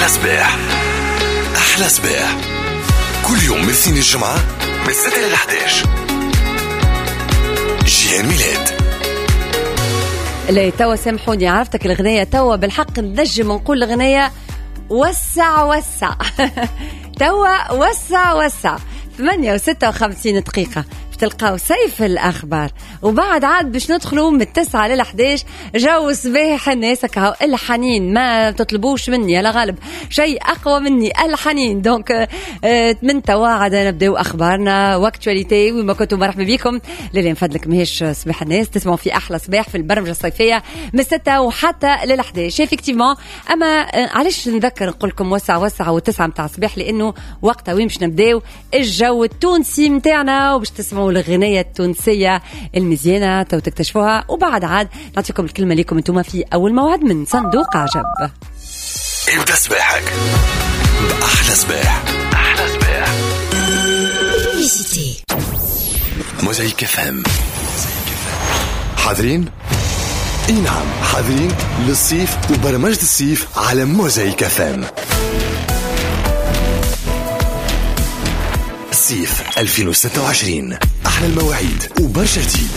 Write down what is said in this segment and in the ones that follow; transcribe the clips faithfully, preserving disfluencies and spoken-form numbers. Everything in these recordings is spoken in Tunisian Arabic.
أحلى صباح، أحلى صباح كل يوم من الاثنين الجمعة من ستة إلى أحد عشر. جيهان ميلاد. لا توا سامحوني، عرفتك الغنية توا بالحق نجم نقول الغنية وسع وسع توا وسع وسع. ثمانية وستة وخمسين دقيقة تلقاو سيف الأخبار، وبعد عاد باش ندخلوا من التسعة للحداش جو صباح الناس كهو الحنين. ما تطلبوش مني على غالب شيء أقوى مني الحنين. donc من توا عاد نبداو أخبارنا و actualité وما كنتوا مرحبا بكم. للي نفدلك ماهيش صباح الناس، تسمعوا في أحلى صباح في البرمجة الصيفية من الستة وحتى للحداش effectivement. أما علاش نذكر نقول لكم وسع وسع والتسعة متاع الصباح؟ لأنه وقتها وين باش نبداو الجو التونسي متاعنا وباش تسمعوا الغنية التونسية المزيانة تو تكتشفوها. وبعد عاد نعطيكم الكلمة لكم انتم في أول موعد من صندوق عجب. ابدأ صباحك بأحلى صباح. أحلى صباح موزايك اف ام. حاضرين؟ اي نعم حاضرين للصيف وبرمجة الصيف على موزايك اف ام. صيف ألفين وستة وعشرين، أحلى المواعيد وبرشا جديد،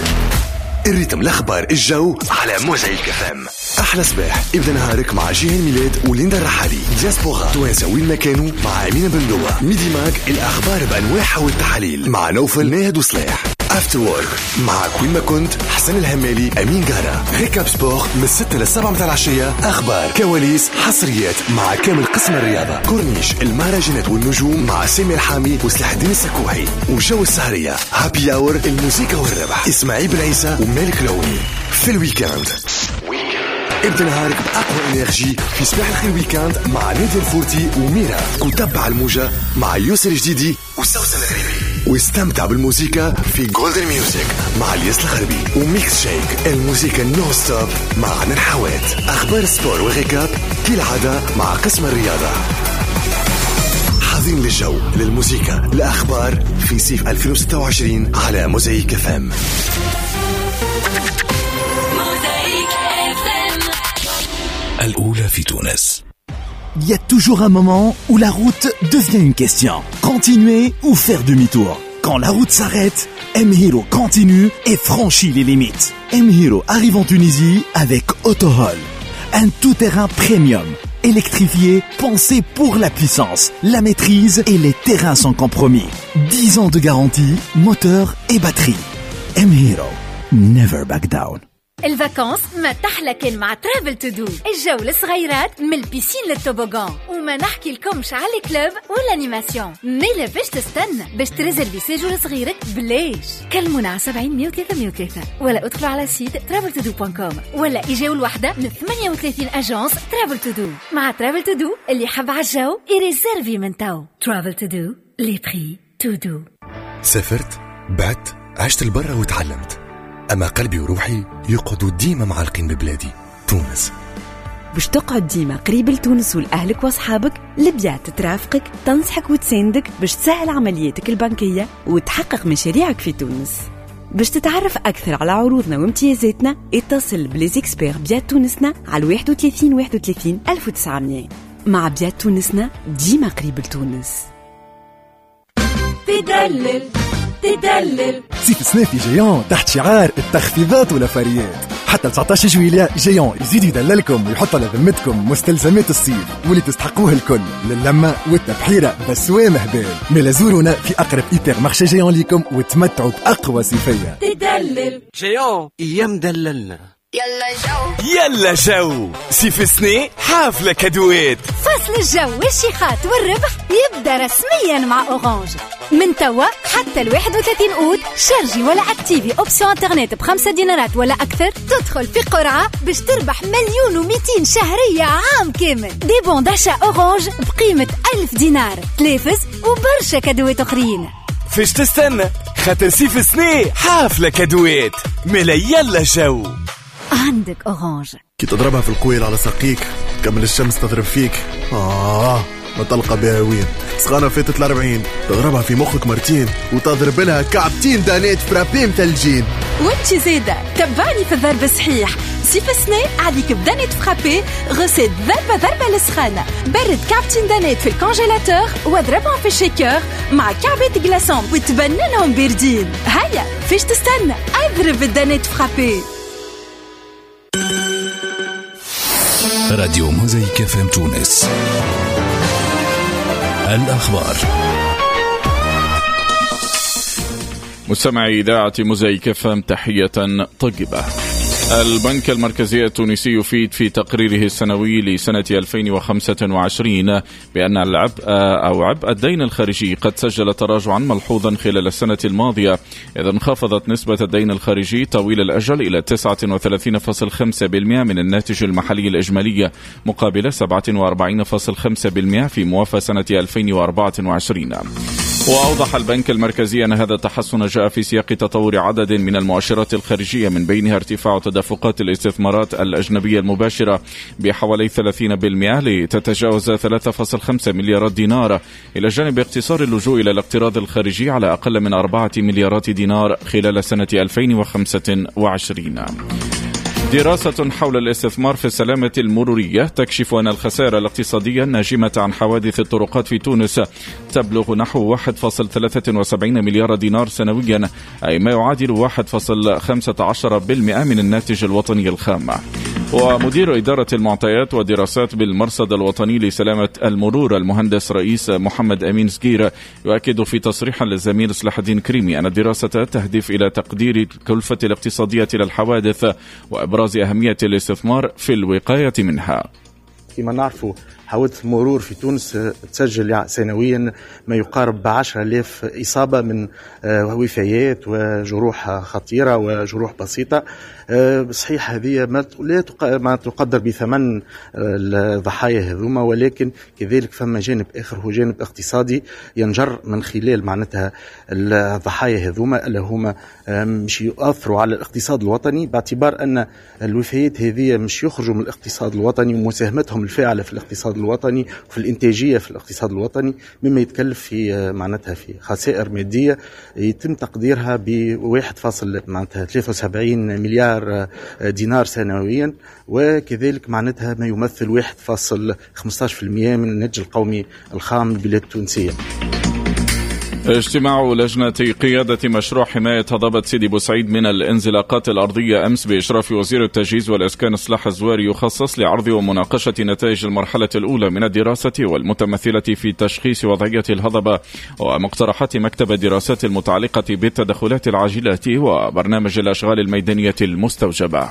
ال rythme، الأخبار، الجو على موزايك اف ام. أحلى صباح، ابدأ نهارك مع جيهان ميلاد وليندا الرحالي، دياسبورا توانسة وين ما كانوا مع أمينة بندوة، Midi Mag الأخبار بأنواعها والتحاليل مع نوفل ناهد وصلاح، After Work معك وين ما كنت حسن الهمالي أمين جارة، récap sport من ستة للسبعة متاع العشية، أخبار كواليس حصريات مع كامل قسم الرياضة، كورنيش المهرجانات والنجوم مع سامي الحامي وسلاح الدين السكوحي، وجو السهرية happy hour الموسيقى والربح إسماعيل بن عيسى ومالك العوني. في ال week-end ابدأ نهارك بأقوى énergie في صباح الخير week-end مع نادي الفورتي وميرا، وتبع الموجة مع يوسف الجديدي وسوسن الغريبي، واستمتع بالموسيقى في Golden Music مع الياس الغربي و Mix Shake الموسيقى non-stop مع عدنان حوات. أخبار sport و récap كالعادة مع قسم الرياضة. حاضرين للجو للموسيقى الأخبار في صيف ألفين وستة وعشرين على موزايك اف ام. الأولى في تونس. Il y a toujours un moment où la route devient une question. Continuer ou faire demi-tour. Quand la route s'arrête, M-Hero continue et franchit les limites. M-Hero arrive en Tunisie avec AutoHall. Un tout-terrain premium, électrifié, pensé pour la puissance, la maîtrise et les terrains sans compromis. dix ans de garantie, moteur et batterie. M-Hero, never back down. ال vacances ما تحلى كان مع Travel To Do، الجو الصغيرات من ال piscine لل toboggan، وما نحكي لكمش على ال club وال animation. ميلا باش تستنى باش تريزيرفي séjour صغيرك بلاش. كلمونا على سبعين مية وثلاثة مية وثلاثة ولا ادخلوا على site Travel To Do point com ولا اجاو الوحدة من ثمانية وثلاثين agence Travel To Do. مع Travel To Do اللي حب على الجو يريزيرفي من تو. Travel To Do، les prix to do. سافرت، بعت، عشت البرة وتعلمت، أما قلبي وروحي يقعدوا ديما معلقين ببلادي تونس. باش تقعد ديما قريب لتونس ولأهلك وأصحابك، البيات ترافقك، تنصحك وتساندك باش تسهل عملياتك البنكية وتحقق مشاريعك في تونس. باش تتعرف أكثر على عروضنا وامتيازاتنا اتصل ب les experts بيات تونسنا على واحد وثلاثين واحد وثلاثين ألف وتسعمية. مع بيات تونسنا ديما قريب لتونس. تدلل تدلل. صيف سنة في Géant تحت شعار التخفيضات والافاريات حتى تسعطاش جويلية. Géant يزيد يدللكم ويحط على ذمتكم مستلزمات الصيف واللي تستحقوه الكل للمة والتبحيرة بسوام هبال. ملا زورونا في أقرب hypermarché Géant ليكم وتمتعوا بأقوى صيفية. تدلل Géant يمدللنا. يلا جو يلا جو صيف سنة حافلة كادوات. فصل الجو والشيخات والربح يبدأ رسميا مع Orange من توا حتى الواحد وثلاثين أوت. شارجي ولا اكتيفي option internet بخمسة دينارات ولا أكثر تدخل في قرعة باش تربح مليون ومئتين شهرية عام كامل. des bons d'achat Orange بقيمة ألف دينار، تلافز وبرشا كادوات أخرين. فاش تستنى؟ خاطر صيف سنة حافلة كادوات. ملا يلا جو عندك Orange. كي تضربها في القويل على ساقيك كمل الشمس تضرب فيك، آه ما تلقى بها وين. سخانة فاتت الأربعين تضربها في مخك مرتين وتضرب لها كعبتين دانات frappé مثلجين. وانت زاده تبعني في الضرب الصحيح. صيف السنة عليك ب Danette frappée، recette ضربة ضربة للسخانة. برد كعبتين Danette في ال congélateur واضربهم في ال shaker مع كعبة glaçons وتبننهم باردين. هيا فيش تستنى، اضرب ال Danette frappée. راديو موزايك إف إم تونس. الأخبار. مستمعي إذاعة موزايك إف إم، تحية طيبة. البنك المركزي التونسي يفيد في تقريره السنوي لسنة ألفين وخمسة وعشرين بأن العبء أو عبء الدين الخارجي قد سجل تراجعا ملحوظا خلال السنة الماضية، إذ انخفضت نسبة الدين الخارجي طويل الأجل إلى تسعة وثلاثين فاصلة خمسة بالمئة من الناتج المحلي الإجمالي مقابل سبعة وأربعين فاصلة خمسة بالمئة في موافى سنة ألفين وأربعة وعشرين. وأوضح البنك المركزي أن هذا التحسن جاء في سياق تطور عدد من المؤشرات الخارجية، من بينها ارتفاع تدفقات الاستثمارات الأجنبية المباشرة بحوالي ثلاثين بالمئة لتتجاوز ثلاثة فاصلة خمسة مليارات دينار، إلى جانب اقتصار اللجوء إلى الاقتراض الخارجي على أقل من أربعة مليارات دينار خلال سنة ألفين وخمسة وعشرين. دراسة حول الاستثمار في السلامة المرورية تكشف أن الخسائر الاقتصادية الناجمة عن حوادث الطرقات في تونس تبلغ نحو واحد فاصلة ثلاثة وسبعين مليار دينار سنويا، أي ما يعادل واحد فاصلة خمسة عشر بالمئة من الناتج الوطني الخام. ومدير إدارة المعطيات والدراسات بالمرصد الوطني لسلامة المرور المهندس رئيس محمد أمين سكير يؤكد في تصريح للزميل صلاح الدين كريمي أن الدراسة تهدف إلى تقدير الكلفة الاقتصادية للحوادث وإبراز أهمية الاستثمار في الوقاية منها. كما نعرفوا حوادث المرور في تونس تسجل سنويا ما يقارب عشرة آلاف إصابة من وفيات وجروح خطيرة وجروح بسيطة. صحيح هذه ما لا تقدر بثمن الضحايا هذوما، ولكن كذلك فما جانب آخر هو جانب اقتصادي ينجر من خلال معناتها الضحايا هذوما اللي هما مش يؤثروا على الاقتصاد الوطني، باعتبار أن الوفيات هذه مش يخرجوا من الاقتصاد الوطني ومساهمتهم الفاعلة في الاقتصاد الوطني وفي الإنتاجية في الاقتصاد الوطني، مما يتكلف في معناتها في خسائر مادية يتم تقديرها ب واحد فاصل معناتها ثلاثة وسبعين مليار دينار سنويا، وكذلك معناتها ما يمثل واحد فاصل خمسة عشر بالمئة من الناتج القومي الخام للبلاد التونسية. اجتماع لجنة قيادة مشروع حماية هضبة سيدي بوسعيد من الانزلاقات الأرضية أمس بإشراف وزير التجهيز والإسكان صلاح الزواري يخصص لعرض ومناقشة نتائج المرحلة الأولى من الدراسة والمتمثلة في تشخيص وضعية الهضبة ومقترحات مكتب الدراسات المتعلقة بالتدخلات العاجلة وبرنامج الأشغال الميدانية المستوجبة.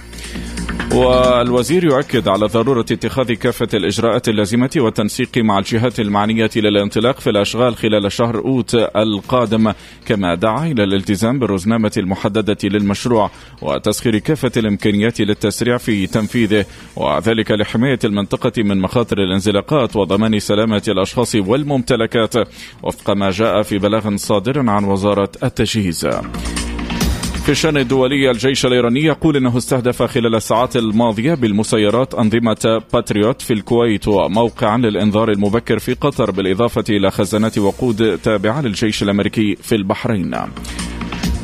والوزير يؤكد على ضرورة اتخاذ كافة الإجراءات اللازمة والتنسيق مع الجهات المعنية للانطلاق في الأشغال خلال شهر أوت القادم، كما دعا إلى الالتزام بالرزنامة المحددة للمشروع وتسخير كافة الإمكانيات للتسريع في تنفيذه، وذلك لحماية المنطقة من مخاطر الانزلاقات وضمان سلامة الأشخاص والممتلكات، وفق ما جاء في بلاغ صادر عن وزارة التجهيز. في الشأن الدولي، الجيش الإيراني يقول إنه استهدف خلال الساعات الماضية بالمسيرات أنظمة باتريوت في الكويت وموقعا للإنذار المبكر في قطر، بالإضافة إلى خزانات وقود تابعة للجيش الأمريكي في البحرين.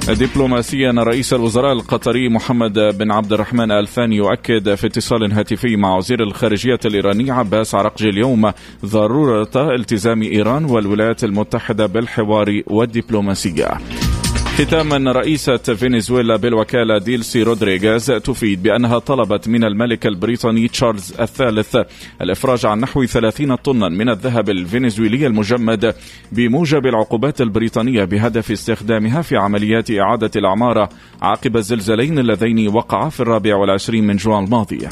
دبلوماسيا، رئيس الوزراء القطري محمد بن عبد الرحمن آل ثاني يؤكد في اتصال هاتفي مع وزير الخارجية الإيراني عباس عراقجي اليوم ضرورة التزام إيران والولايات المتحدة بالحوار والدبلوماسية. ختاما، رئيسة فنزويلا بالوكالة ديلسي رودريغاز تفيد بأنها طلبت من الملك البريطاني تشارلز الثالث الإفراج عن نحو ثلاثين طنا من الذهب الفنزويلي المجمد بموجب العقوبات البريطانية بهدف استخدامها في عمليات إعادة العمارة عقب الزلزالين اللذين وقعا في الرابع والعشرين من جوان الماضي.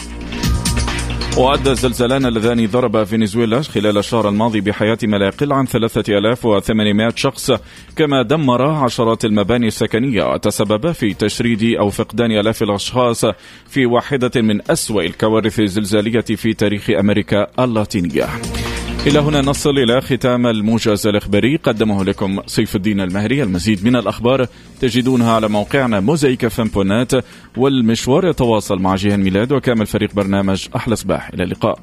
وأدى الزلزالان اللذان ضربا فنزويلا خلال الشهر الماضي بحياة ما لا يقل عن ثلاثة آلاف وثمانمائة شخص، كما دمر عشرات المباني السكنية وتسبب في تشريد أو فقدان آلاف الأشخاص في واحدة من أسوأ الكوارث الزلزالية في تاريخ أمريكا اللاتينية. إلى هنا نصل إلى ختام الموجز الإخباري قدمه لكم سيف الدين المهري. المزيد من الأخبار تجدونها على موقعنا موزايك إف إم دوت نت، والمشوار يتواصل مع جيهان ميلاد وكامل فريق برنامج أحلى صباح. إلى اللقاء.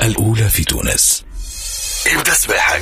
الأولى في تونس. ابدا صباحك.